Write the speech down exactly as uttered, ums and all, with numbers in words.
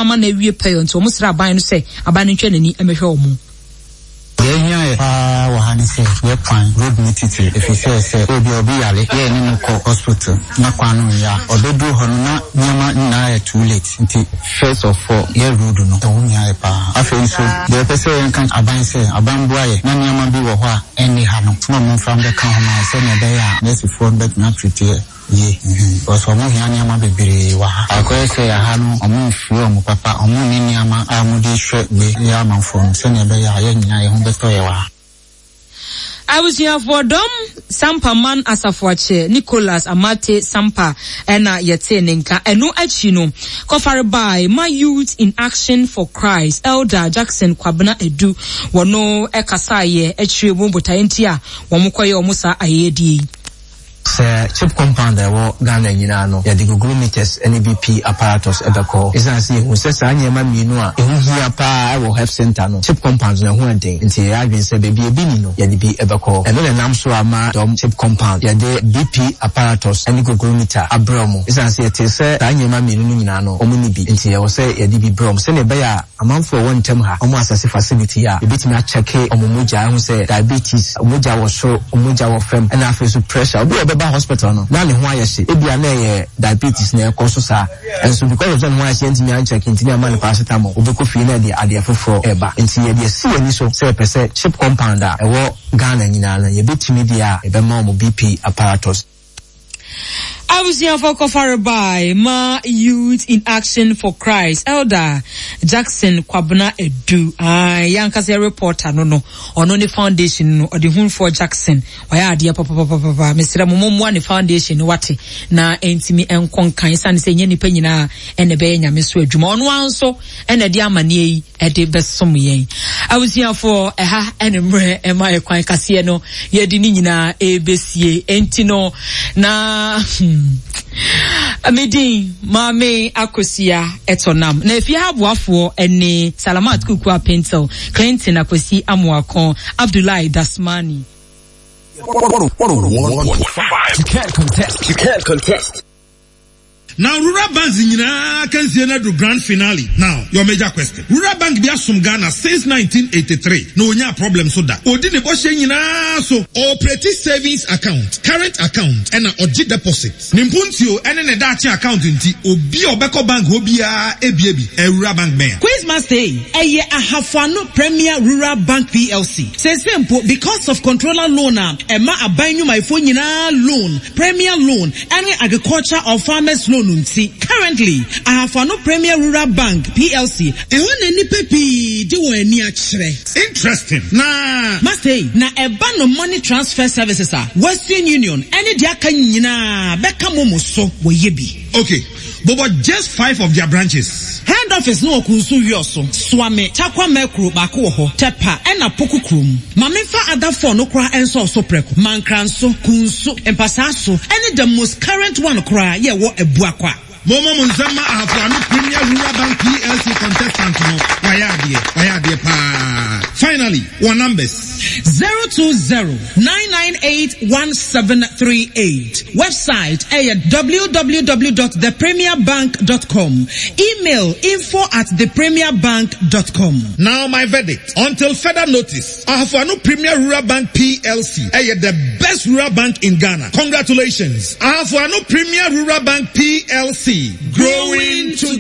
Ama na awie pɛyɛ, nti wɔn srɛ aban no sɛ aban no ntwa n'ani mmɛhwɛ wɔn. Deɛ ɛhia yɛ paa wɔ ha ne sɛ yɛ kwan, road ne titiri, ɛfiri sɛ sɛ obi a obi yare yɛ ne no kɔ hospital na kwan no nyɛ a, ɔbɛduru hɔ no na nneɛma nyinaa yɛ too late. Nti first of all, yɛ road no, ɛho hia yɛ paa. Afei nso, deɛ ɛpɛ sɛ yɛnka aban sɛ aban boa yɛ na nneɛma bi wɔ hɔ a ɛnni ha no na ɔmo mfa mbɛka ho ma sɛnea ɛbɛyɛ a nɛɛsefoɔ no bɛtumi atreat yɛ yie, because ɔmo hia nneɛma bebree wɔ ha. Akɔyɛ sɛ aha no, ɔmo mfiri ɔmo papa, ɔmo nni nneɛma a ɔmo de hwɛ wei yɛ amanfoɔ no sɛnea ɛbɛyɛ a yɛn nyinaa yɛn ho bɛtɔ yɛ wɔ ha. Abusuafoɔ, Dɔm Sampaman Asafoakyɛ Nicholas Amate Sampa ɛna yɛte ne nka. Ɛno akyi no, kɔfare by ma Youth in Action for Christ, Elder Jackson Kwabena Edu, wɔno ɛkasaeɛ akyire mu botaeɛ nti a wɔn kɔyɛ wɔn saa ayɛyɛdeɛ yi. Sɛ CHPS compound a ɛwɔ Ghana nyinaa no, yɛde glucometers ne B P apparatus ɛbɛkɔ, ɛsiane sɛ yɛhu sɛ saa nneɛma mmienu a ɛho hia paa ɛwɔ health center no, CHPS compound no ɛho ɛden, nti yɛyɛ adwene sɛ baabi ebi ni no, yɛde bi ɛbɛkɔ. Ɛno na ɛnam so ama Dɔm CHPS compound yɛde B P apparatus ne glucometer abrɛ ɔmo, ɛsiane sɛ yɛte sɛ saa nneɛma mmienu no nyinaa no, ɔmo ni bi, nti yɛwɔ sɛ yɛde bi brɛ ɔmo sɛnea ɛbɛyɛ a amanfoɔ a ɛwɔ ntɛm ha, ɔmo asase facility a yɛbɛtumi akyɛke ɔmo mogya ɛho sɛ diabetes, mogya wɔ soro, mogya wɔ fam, ɛna afei so pressure. Obi a ɔbɛba hospital no na ne ho ayɛ hye, ebia na ɛyɛ diabetes na ɛkɔ so saa, ɛnso because of sɛ ne ho ayɛ hye ntumi ankyɛke, ntumi ama ne paracetamol, obɛkɔ fie na ɛde adeɛ foforɔ ɛba. Nti yɛde asi yɛn ani so sɛ yɛpɛ sɛ CHPS compound a ɛwɔ Ghana nyinaa no, yɛbɛtumi deɛ a yɛbɛma ɔmo B P apparatus. Abusuafo, kɔfare by ma Youth in Action for Christ, Elder Jackson Kwabena Edu, yɛankasa reporter no no ɔno ne foundation no, ɔde hunfoɔ Jackson ɔyɛ adeɛ papapapapa. Mesrɛ mo, mommoa ne foundation no, wate, na ɛntumi nkɔ nkan, ɛsiane sɛ ɛnyɛ nnipa nyinaa ɛna ɛbɛyɛ Nyame so adwuma. Ɔno ara nso ɛna ɛde amanneɛ yi ɛde bɛsom yɛn. Abusuafoɔ, ɛha ɛne mmerɛ ɛma ɛkwan kaseɛ no yɛde ne nyinaa ɛbɛsie. Enti no na hmm, medin Maame Akosia ɛtɔ nam na efie ha aboafoɔ ɛne Salamat Kuku Apentel, Clinton Akwasi Amoako, Abdullahi Dasmani. one oh one point five. You can't contest. You can't contest. Now, rural banks nyinaa can see the grand finale. Now, your major question. Rural Bank bi asom Ghana since nineteen eighty-three. Na onya problem so da. Odi ne bɔhyɛ nyinaa so. Operate savings account, current account, ɛna ɔgye deposit. Ne mpuntuo ɛne ne daakye account nti, obi a ɔbɛkɔ bank hɔ biara ebie bi. Rural Bank bɛn? Quiz Master yi, ɛyɛ Ahafoano Premier Rural Bank P L C. Sese mpo, because of controller loan a ɛma aban nnwumayɛfoɔ nyinaa loan, premier loan, ɛne agriculture or farmers loan nti, currently Ahafoano Premier Rural Bank P L C, ɛhɔ na nnipa pii de wɔn ani akyerɛ. Interesting. Na Master yi, na ɛba no money transfer services a, Western Union ɛne deɛ aka nyinaa bɛka mo mo so wɔyɛ bi. Okay. But, but just five of their branches. Head office no wɔ Kunsu Wiɔso, Suame, Takwa Mɛkuro baako wɔ hɔ, Tɛpa ɛna Poku kurom. Maame nfa adafoɔ no koraa ɛnsɔ so prɛko. Mankranso, Kunsu, Mpasaaso ɛne the most current one koraa yɛ wɔ Abuakwa. Momo mo nsɛm ma Ahafoano Premier Rural Bank P L C contestant no, wayɛ adeɛ, wayɛ adeɛ paa. Finally, wɔn numbers. Zero two zero nine nine eight one seven three eight. Website ɛyɛ w w w dot the premier bank dot com. Email info at the premier bank dot com. Now my verdict. Until further notice, Ahafoano Premier Rural Bank P L C ɛyɛ the best rural bank in Ghana. Congratulations. Ahafoano Premier Rural Bank P L C. Growing together.